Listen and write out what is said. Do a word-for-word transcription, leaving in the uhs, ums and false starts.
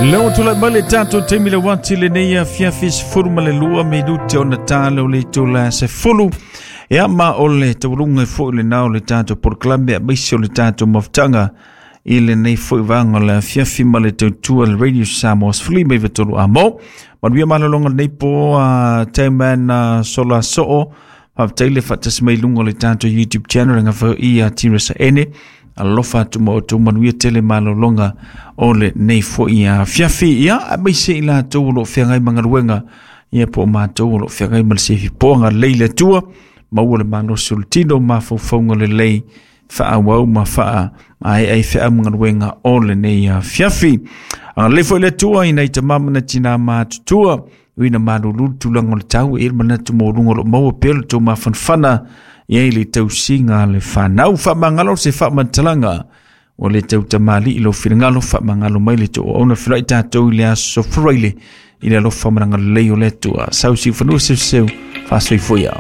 Leo tulai mai le tatou taimi le wati lenei afiafi sefulu ma le lua minute ona tala o le itula sefulu. Ia ma o le taualuga foi lenā o le tatou polokalame aemaise o le tatou mafutaga i lenei foi vaega o le afiafi ma le tautua le Radio Samoa sefulu lima iva tolu amo. Manuia malologa lenei po a Taiman Sola Soo. Faafetai le faatasi mai luga o le tatou YouTube channel e gafa ia Tirasa Ene. Alofa atu ma outou manuia tele malologa o lenei foi afiafi. Ia aemaise i latou o lo o feagai ma galuega, ia po o matou o lo o feagai ma le sifipoa lelei le Atua, maua le malosi o le tino, mafaufauga lelei, faaauau ma faaemaea i feau ma galuega o lenei afiafi. Agalelei foi le Atua i nai tama ma nai tina matutua, uina malulu le tulaga o le tau, e i ai le manatu maualuga o lo o maua pea le tou mafanafana i ai le tausiga a le fanau. Faamagalo se faamatalaga ua le tautamalii lou finagalo, faamagalo mai le tooauna felai tatou i le aso Faraile i le alofa ma le agalelei o le Atua. Sausiufanua seuseu faasoifua.